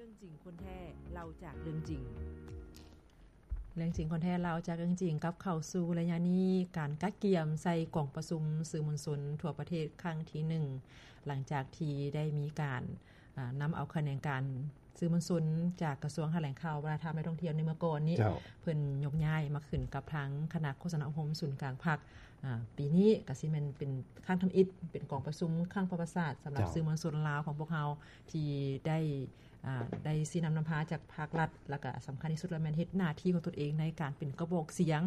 ເລື່ອງຈິງຄົນແທ້ ເລົ່າຈາກເລື່ອງຈິງ. ເລື່ອງຈິງຄົນແທ້ ເລົ່າຈາກເລື່ອງຈິງ ກັບເຂົ້າສູ່ໄລຍະນີ້ ການກະກຽມໃສ່ກອງປະຊຸມສື່ມວນຊົນທົ່ວປະເທດຄັ້ງທີໜຶ່ງ ຫຼັງຈາກທີ່ໄດ້ມີການ ອາ ນຳເອົາຂະແໜງການສື່ມວນຊົນຈາກກະຊວງຖະແຫຼງຂ່າວ ວັດທະນະທຳ ແລະ ທ່ອງທ່ຽວໃນເມື່ອກ່ອນນີ້ ເຈົ້າ ເພິ່ນຍົກຍ້າຍມາຂຶ້ນກັບທາງຄະນະໂຄສະນາອົບຮົມສູນກາງພັກ. ອາ ປີນີ້ກະຊິແມ່ນເປັນຄັ້ງທຳອິດ ເປັນກອງປະຊຸມຄັ້ງປະຫວັດສາດສຳລັບ ເຈົ້າ ສື່ມວນຊົນລາວຂອງພວກເຮົາ ທີ່ໄດ້ ອາ ໄດ້ຊີ້ນຳນຳພາຈາກພາກລັດ ແລ້ວກະສຳຄັນທີ່ສຸດລະແມ່ນເຮັດໜ້າທີ່ຂອງຕົນເອງໃນການເປັນກະບອກສຽງ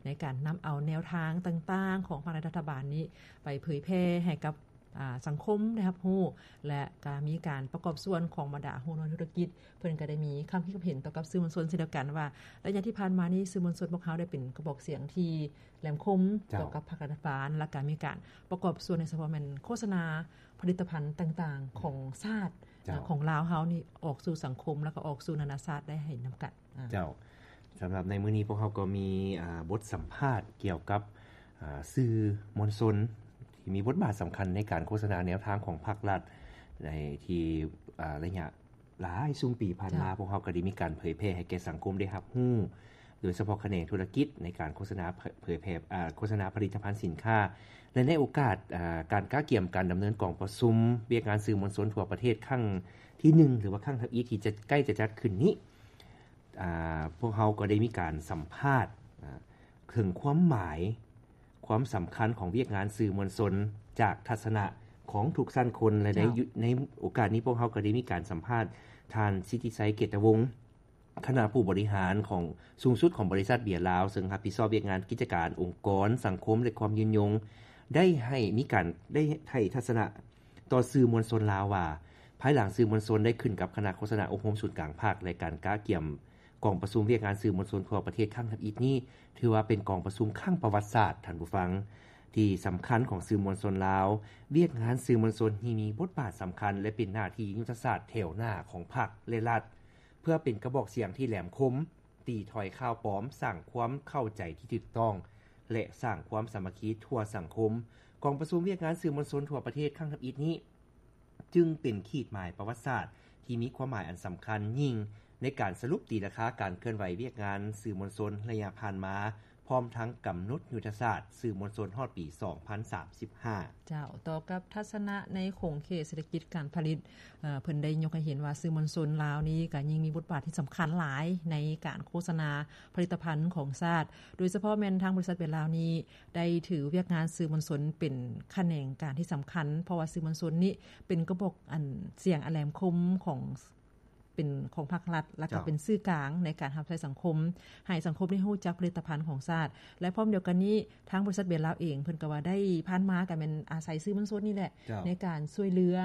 ໃນການນຳເອົາແນວທາງຕ່າງໆຂອງພາກລັດ ລັດຖະບານນີ້ໄປເຜີຍແຜ່ໃຫ້ກັບ ອາ ສັງຄົມໄດ້ຮັບຮູ້ ແລະ ກະມີການປະກອບສ່ວນຂອງບັນດາຫົວໜ່ວຍທຸລະກິດ ເພິ່ນກະໄດ້ມີຄຳຄິດຄຳເຫັນຕໍ່ກັບສື່ມວນຊົນເຊັ່ນດຽວກັນວ່າ ໄລຍະທີ່ຜ່ານມານີ້ ສື່ມວນຊົນພວກເຮົາໄດ້ເປັນກະບອກສຽງທີ່ແຫຼມຄົມ ເຈົ້າ ຕໍ່ກັບພາກລັດຖະບານ ແລ້ວກະມີການປະກອບສ່ວນໃນສະເພາະແມ່ນໂຄສະນາຜະລິດຕະພັນຕ່າງໆຂອງຊາດ ເຈົ້າ ຂອງລາວເຮົານີ້ອອກສູ່ສັງຄົມ ແລ້ວກະອອກສູ່ນານາຊາດໄດ້ເຫັນນຳກັນ. ອາ ເຈົ້າ ສຳລັບໃນມື້ນີ້ພວກເຮົາກໍມີ ອາ ບົດສຳພາດກ່ຽວກັບ ອາ ສື່ມວນຊົນທີ່ມີບົດບາດສຳຄັນໃນການໂຄສະນາແນວທາງຂອງພາກລັດ ໃນທີ່ ອາ ໄລຍະຫຼາຍຊຸມປີຜ່ານມາ ເຈົ້າ ພວກເຮົາກໍໄດ້ມີການເຜີຍແຜ່ໃຫ້ແກ່ສັງຄົມໄດ້ຮັບຮູ້ ໂດຍສະເພາະຂະແໜງທຸລະກິດໃນການໂຄສະນາເຜີຍແຜ່ ອາ ໂຄສະນາຜະລິດຕະພັນສິນຄ້າ ແລະ ໃນໂອກາດ ອາ ການກະກຽມການດຳເນີນກອງປະຊຸມວຽກງານສື່ມວນຊົນທົ່ວປະເທດຄັ້ງທີໜຶ່ງ ຫຼືວ່າຄັ້ງທຳອິດທີ່ຈະ ໃກ້ຈະຈັດຂຶ້ນນີ້ ອາ ພວກເຮົາກໍໄດ້ມີການສຳພາດ ອາ ເຖິງຄວາມໝາຍ ຄວາມສຳຄັນຂອງວຽກງານສື່ມວນຊົນ ຈາກທັດສະນະຂອງທຸກຊັ້ນຄົນ ແລະ ໃນ ເຈົ້າ ໃນໂອກາດນີ້ພວກເຮົາກໍໄດ້ມີການສຳພາດທ່ານ ສິດທິໄຊ ເກດຕະວົງ ຄະນະຜູ້ບໍລິຫານຂອງ ສູງສຸດຂອງບໍລິສັດເບຍລາວ ເຊິ່ງຮັບຜິດຊອບວຽກງານກິດຈະການອົງກອນສັງຄົມ ແລະ ຄວາມຍືນຍົງ ໄດ້ໃຫ້ມີການ ໄດ້ໃຫ້ທັດສະນະຕໍ່ສື່ມວນຊົນລາວວ່າ ພາຍຫຼັງສື່ມວນຊົນໄດ້ຂຶ້ນກັບຄະນະໂຄສະນາອົບຮົມສູນກາງພັກ ແລະ ການກະກຽມກອງປະຊຸມວຽກງານສື່ມວນຊົນທົ່ວປະເທດຄັ້ງທຳອິດນີ້ ຖືວ່າເປັນກອງປະຊຸມຄັ້ງປະຫວັດສາດ, ທ່ານຜູ້ຟັງ, ທີ່ສຳຄັນຂອງສື່ມວນຊົນລາວ. ວຽກງານສື່ມວນຊົນທີ່ມີບົດບາດສຳຄັນ ແລະ ເປັນໜ້າທີ່ຍຸດທະສາດແຖວໜ້າຂອງພັກ ແລະ ລັດ ເພື່ອເປັນກະບອກສຽງທີ່ແຫຼມຄົມ, ຕີຖອຍຂ່າວປອມ, ສ້າງຄວາມເຂົ້າໃຈທີ່ຖືກຕ້ອງ ແລະ ສ້າງຄວາມສາມັກຄີທົ່ວສັງຄົມ. ກອງປະຊຸມວຽກງານສື່ມວນຊົນທົ່ວປະເທດຄັ້ງທຳອິດນີ້ ຈຶ່ງເປັນຂີດໝາຍປະຫວັດສາດທີ່ມີຄວາມໝາຍອັນສຳຄັນຍິ່ງ ໃນການສະຫຼຸບຕີລາຄາການເຄື່ອນໄຫວວຽກງານສື່ມວນຊົນໄລຍະຜ່ານມາ, ພ້ອມທັງກຳນົດຍຸດທະສາດສື່ມວນຊົນຮອດປີສອງພັນສາມສິບຫ້າ. ເຈົ້າ, ຕໍ່ກັບທັດສະນະໃນຂົງເຂດເສດຖະກິດການຜະລິດ, ເອີ, ເພິ່ນໄດ້ຍົກໃຫ້ເຫັນວ່າສື່ມວນຊົນລາວນີ້ກໍຍິ່ງມີບົດບາດທີ່ສຳຄັນຫຼາຍໃນການໂຄສະນາຜະລິດຕະພັນຂອງຊາດ, ໂດຍສະເພາະແມ່ນທາງບໍລິສັດເບຍລາວນີ້ ໄດ້ຖືວຽກງານສື່ມວນຊົນເປັນຂະແໜງການທີ່ສຳຄັນ, ເພາະວ່າສື່ມວນຊົນນີ້ເປັນກະບອກອັນສຽງອັນແຫຼມຄົມຂອງ ເປັນຂອງພາກລັດ ແລ້ວກໍ ເຈົ້າ ເປັນສື່ກາງໃນການຮັບໃຊ້ສັງຄົມ, ໃຫ້ສັງຄົມໄດ້ຮູ້ຈັກຜະລິດຕະພັນຂອງຊາດ ແລະ ພ້ອມດຽວກັນນີ້ ທາງບໍລິສັດເບຍລາວເອງ ເພິ່ນກໍວ່າໄດ້ຜ່ານມາກໍແມ່ນອາໄສສື່ມວນຊົນນີ້ແຫຼະ ເຈົ້າ ໃນການຊ່ວຍເຫຼືອ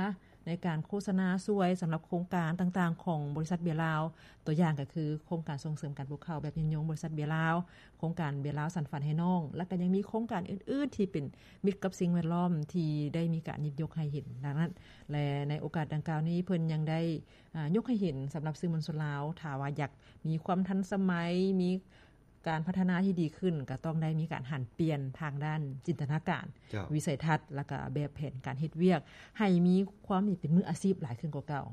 ໃນການໂຄສະນາຊ່ວຍສຳລັບໂຄງການຕ່າງໆຂອງບໍລິສັດເບຍລາວ, ຕົວຢ່າງກໍຄືໂຄງການສົ່ງເສີມການປູກເຂົ້າແບບຍືນຍົງບໍລິສັດເບຍລາວ, ໂຄງການເບຍລາວສັນຝັນໃຫ້ນ້ອງ ແລ້ວກໍຍັງມີໂຄງການອື່ນໆທີ່ເປັນມິດກັບສິ່ງແວດລ້ອມທີ່ໄດ້ມີການຍິບຍົກໃຫ້ເຫັນດັ່ງນັ້ນ. ແລະ ໃນໂອກາດດັ່ງກ່າວນີ້ ເພິ່ນຍັງໄດ້ ອາ ຍົກໃຫ້ເຫັນສຳລັບສື່ມວນຊົນລາວ ຖ້າວ່າຢາກມີຄວາມທັນສະໄໝ, ມີ ການພັດທະນາທີ່ດີຂຶ້ນ ກໍຕ້ອງໄດ້ມີການຫັນປ່ຽນທາງດ້ານຈິນຕະນາການ, ເຈົ້າ ວິໄສທັດ ແລ້ວກໍແບບແຜນການເຮັດວຽກ ໃຫ້ມີຄວາມເປັນມືອາຊີບຫຼາຍຂຶ້ນກວ່າເກົ່າ.